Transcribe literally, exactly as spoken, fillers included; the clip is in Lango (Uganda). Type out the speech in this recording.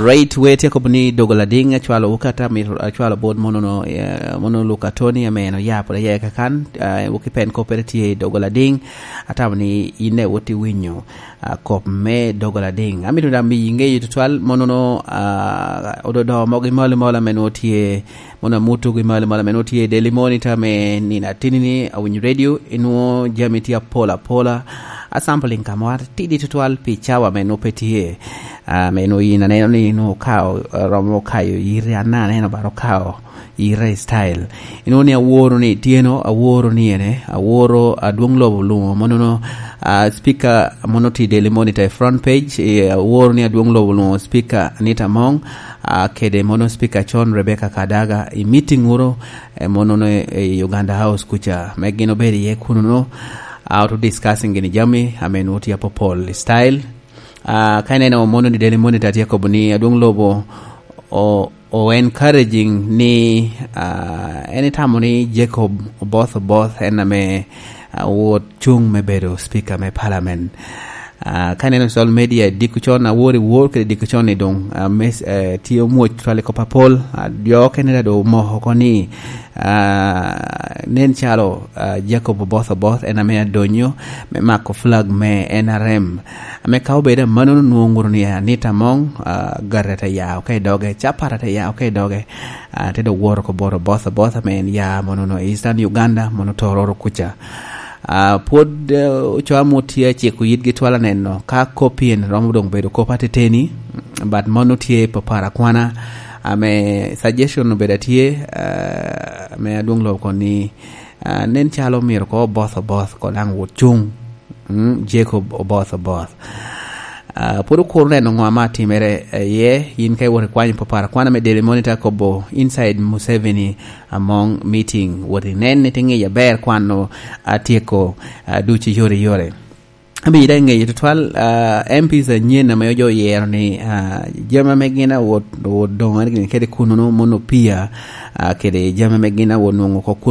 Right, we tye kobo ni dogo lading acwalo wuka ta mi acwalo bot mono no, eh, mono Luka Tony ame en oya pwod aya kakan, eh, wuki pen kopere tye i dogo lading, atamo ni ine wot i winyo, ah, kop me dogo lading. Amito da mi inge yi tutwal mono no, ah, ododo mogi mali mali ame no tye, mono amutu gi mali mali ame no tye Daily Monitor me nina tini ni awinyo radio, inuo jami tye apola apola, a sampling kamwa tidi tutwal pi cawa me no pe tye. Ah, me no yin aneno ni no kao, ah, romo kayo yiri anna aneno baro kao yiri style. Ino ni aworo ni tieno, aworo ni ene, aworo adwong lobo lumo mono no, ah, speaker mono ti Daily Monitor e front page, eh, aworo ni adwong lobo lumo speaker Anita Mong, ah, kede mono speaker Chon Rebecca Kadaga i meeting wuro, eh, mono no e, e Uganda House kuca. Me gin obedo iye kuno no, ah, oto discussing gini jami, ame no ti apopol style. Ah, ka ineno mono ni Daily Monitor tye kobo ni adwong lobo o, o encouraging ni, ah, en itamo ni Jacob Oboth Oboth en ame, ah, wot cung me bedo speaker me parliament. Ah, ka ineno social media diko con awor i wor kede diko con ni dong, ah, mes-, eh, tye omwoc twal i kop apol. Ah, jo okene da do omoko oko ni, ah, nen calo, ah, Jacob Oboth Oboth en ame adonyo me mako flag me N R M. Ame ka obedo amannono nwoŋo ŋuto ni Anita Among, ah, gare te ya oko i doge, capat te ya oko i doge, ah, te dok woro oko bot Oboth Oboth ame en ya mono no Eastern Uganda, mono Tororo kuca. Ah, pwod, eh, ocoa mot tye aciko yitgi twal aneno ka kop pien romo doŋ bedo kop ateteni, but mano tye papara kwana. Ame suggestion obedo atye, ah, ame adwong lobo koni, ah, nen calo myero ko Oboth Oboth ko daŋ wot cuŋ. Mm, Jacob Oboth Oboth. Ah, pwod okuro neno ŋo ame atimere iye, yin ka iwot ikwanyo papara kwana me Daily Monitor kobo inside Museveni Among meeting, wot inen ni tiŋic aber kwan-nu atyeko, ah, ducu yore yore. Abida i ŋeye tutwal, ah, M Ps anyen ame ojo oyero ni, ah, jami ame gin awot, wot doŋo gin kede kuno no mono pia, ah, kede jami ame gin awot nwoŋo oko kuno